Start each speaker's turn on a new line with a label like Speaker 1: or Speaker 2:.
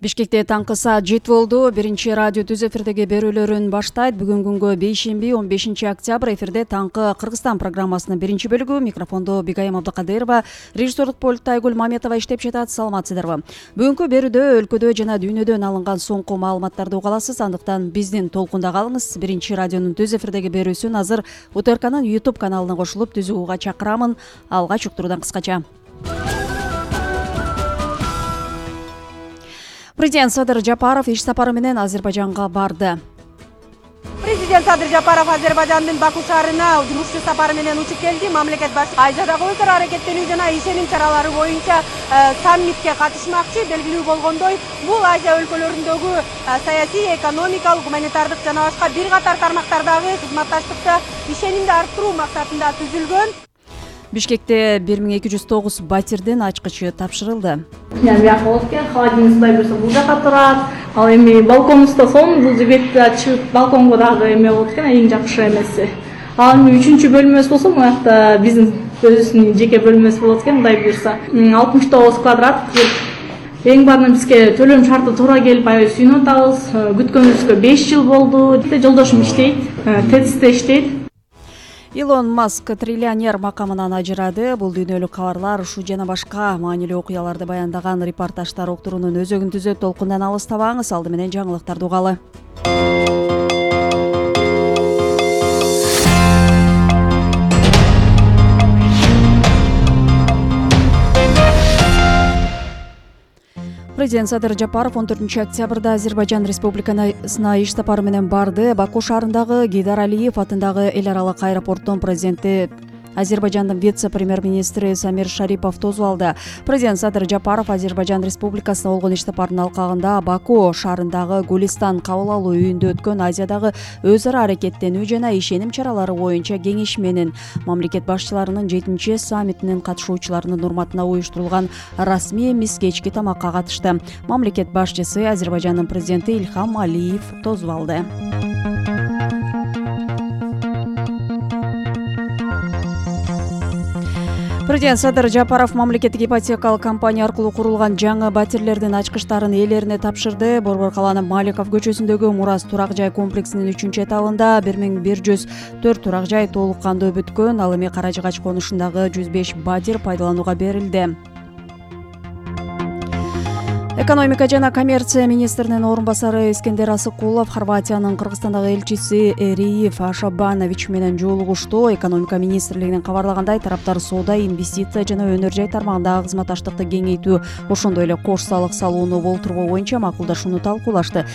Speaker 1: Бишкекте таңкы саат 7 болду. Биринчи радио түз эфирдеги берүүлөрүн баштайт. Бүгүн күнгө бейшемби 15 октябрь эфирде таңкы Кыргызстан программасынын биринчи бөлүгү. Микрофондо Бигайым Абдыкадырова, режиссерлук пультта Айгүл Маметова иштеп жатат. Саламатсыздарбы? Бүгүнкү берүүдө өлкөдө жана дүйнөдөн алынган соңку маалыматтарды уга аласыз. Андыктан биздин толкунда калыңыз. Биринчи радионун түз эфирдеги берүүсүн азыр УТРКнын YouTube каналына кошулуп түзүүгө угууга чакырамын. Алгач уктуруудан кыскача. Президент Садыр Жапаров иш сапары менен Азербайжанга барды.
Speaker 2: Президент Садыр Жапаров Азербайжандын Баку шаарына жумуш сапары менен учуп келди. Мамлекет башчысы Азиядагы өз ара аракеттенүү жана ишеним чаралары боюнча саммитке катышмакчы. Белгилүү болгондой, бул Азия өлкөлөрүндөгү саясий, экономикалык, гуманитардык жана башка бир катар тармактардагы кызматташтыкта ишенимди арттыруу максатында түзүлгөн.
Speaker 1: Бишкекте 1209 батирдин ачкычы тапшырылды.
Speaker 3: Бияка болуп экен, холодильник Кудай буюрса бул жака турат. Ал эми балконубузда сонун бул жибекти чыгып балконго дагы эме болот экен, эң жакшы эмеси. Ал эми 3-чү бөлмөсү болсо мынакта биздин өзүбүздүн жеке бөлмөсү болот экен, Кудай буюрса. 69 квадрат. Эң баарынан бизге төлөм шарты туура келип, аябай сүйүнүп атабыз. Күткөнүбүзгө 5 жыл болду. Жолдошум иштейт, ТЭЦте иштейт.
Speaker 1: Илон Маск триллионер макамынан ажырады. Бул дүйнөлүк кабарлар ушу жана башка маанилүү окуяларды баяндаган репортаждар уктуруунун өзөгүн түзөт. Толкундан алыстабаңыз. Алды менен жаңылыктарды угалы. Президент Садыр Жапаров 14 октябрда Азербайжан Республикасына иш сапары менен барды. Баку шаарындагы Гейдар Алиев атындагы эл аралык аэропорттун президенти Азербайжандын вице-премьер-министри Самир Шарипов тосуп алды. Президент Садыр Жапаров Азербайжан Республикасына болгон иш сапарынын алкагында Баку шаарындагы Гулистан кабыл алуу үйүндө өткөн Азиядагы өз ара аракеттенүү жана ишеним чаралары боюнча кеңеш менен мамлекет башчыларынын 7 саммитинин катышуучуларынын урматына уюштурулган расмий эмес кечки тамакка катышты. Мамлекет башчысы Азербайжандын президенти Ильхам Алиев тосуп алды. Президент Садыр Жапаров мамлекеттик ипотекалык компания аркылуу курулган жаңы батирлердин ачкычтарын ээлерине тапшырды. Борбор калаанын Маликов көчөсүндөгү Мурас турак жай комплексинин 3-этабында 1104 турак жай толук кандуу бүткөн. Ал эми Каражыгач конушундагы 105 батир пайдаланууга берилди. Экономика жана коммерция министринин орун басары Искендер Асыкулов Хорватиянын Кыргызстандагы элчиси Эриев Ашабанович менен жолугушту. Экономика министрлигинин кабарлагандай, тараптар соода, инвестиция жана өнөр жай тармагындагы кызматташтыкты кеңейтүү, ошондой эле кош салык салууну болтурбоо боюнча макулдашууну талкуулашты.